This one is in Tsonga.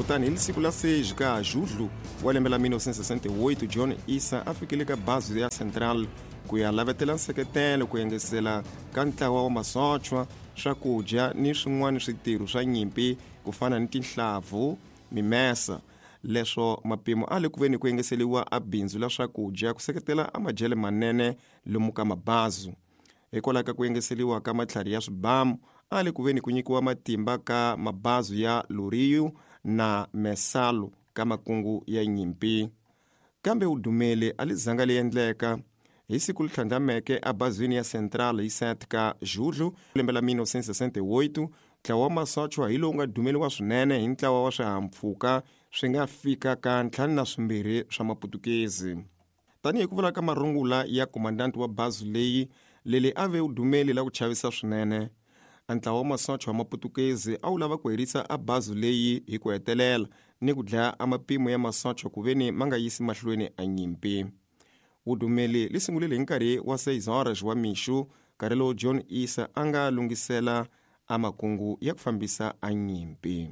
Kutani hi siku la 6 ka Julho wa lembe la 1968, John Issa a fikile ka bazi ya Central ku ya lavetela nseketelo ku engesela ka ntlawa wa masochwa, swakudya ni swin'wana switirho swa nyimpi ku fana ni tinhlavu, mimesa. Leswo mapimo a le ku veni ku engeseliwa a bindzu la swakudya ku seketela a madyele manene lomu ka mabazu. Hikwalaho ka ku engeseliwa ka matlhari ya swibamu, a le ku veni ku nyikiwa matimba ka mabazu ya Loriu na Messalo ka makungu ya nyimpi. Kambe wudumeli a li zanga li endleka. Hi siku li tlhandlameke abazwini ya Central hi 7 ka Julho lembe la 1968, ntlawa wa masochwa hi lowu nga dumeliwa swinene hi ntlawa wa swihahampfhuka swi nga fika ka 52 swa Maputukezi. Tanihi ku vula ka marungula ya komandanti wa bazi leyi, leli a ve wudumeli la ku chavisa swinene. A ntlawa wa masocha wa Maputukezi a wu lava ku herisa a bazi leyi hi ku hetelela ni ku dlaya a mapimo ya masocha ku veni ma nga yisi mahlweni a nyimpi. Wudumeli li sungulile hi nkarhi wa 6 horas wa mixo, nkarhi lowu John Issa a nga lunghisela a makungu ya ku fambisa a nyimpi.